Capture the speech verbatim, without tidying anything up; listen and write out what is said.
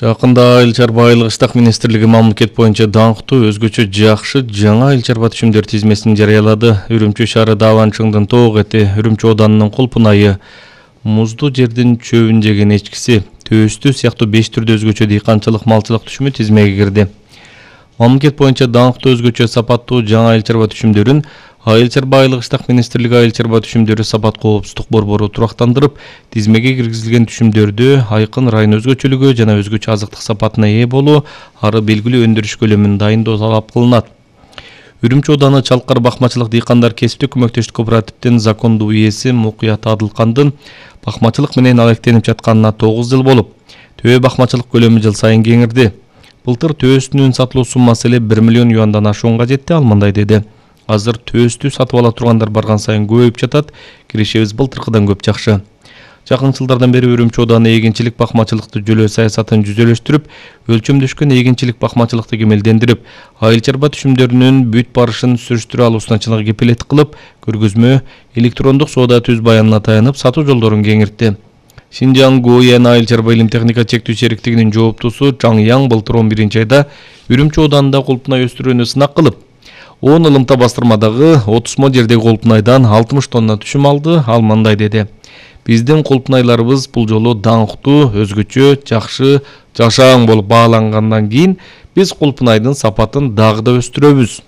Жакында Айыл чарба айылык иштак министрлиги мамлекет боюнча даңктуу өзгөчө жакшы жаңа айыл чарба түшүмдөр тизмесин жарыялады. Үрүмчү шаары Даванчыңдын тоок эти, Үрүмчү оданынын Кулпунайы, муздуу жердин чөбүн жеген эчкиси, Төөстү сыяктуу беш түрдүү өзгөчө дыйканчылык малчылык түшүмү тизмеге кирди. Мамлекет боюнча даңктуу өзгөчө сапаттуу жаңа айыл чарба түшүмдөрүн Айыл чарба айылык иштак министрлиги айыл чарба түшүмдөрү сапат коопсуздук борбору турактандырып, тизмеге киргизилген түшүмдөрдү айкын район өзгөчөлүгү жана өзгөчө азыктык сапатына ээ болуу, ары белгилүү өндүрүш көлөмүн дайындоо талап кылынат. Үрүмчү ооданы Чалкар бакмачылык дыйкандар кесиптик көмөктөштүк кооперативдин закондуу ээси Мукуят Адылкандын бакмачылык менен алектенип жатканына тогуз жыл болуп, төбө бакмачылык көлөмү жыл сайын кеңирди. Былтыр Төөстүнүн сатылуу суммасы эле бир миллион юандан ашуунга жетти. Ал мындай деди: Азыр Төөстү сатып ала тургандар барган сайын көбөйүп жатат. Киришебиз былтыркыдан көп жакшы. Жакын жылдардан бери Үрүмчү ооданы эгинчилик бакмачылыкты жөлөө саясатын жүзөлөштүрүп, өлчөмдөшкөн эгинчилик бакмачылыкты кемелдендирип, айыл чарба түшүмдөрүнүн бүт барышын сүрүштүрө алуусуна чыныгы кепилет кылып, көргөзмө, электрондук соода түз баянына таянып, сатуу жолдорун кеңиртти. Шинжаң Гоян айыл чарба илим техника чектүү сериктигинин жооптусу Чаң Яң былтыр он биринчи айда Үрүмчү оодарында Кулпунай өстүрүүнү сынак кылып, он ылымта бастырмадагы отуз мо жердеги Кулпунайдан алтымыш тонна түшүм алды. Ал мындай деди: Биздин Кулпунайларыбыз бул жолу даңктуу, өзгөчө, жакшы, жашаң болуп баалангандан кийин биз Кулпунайдын сапатын дагы да өстүрөбүз.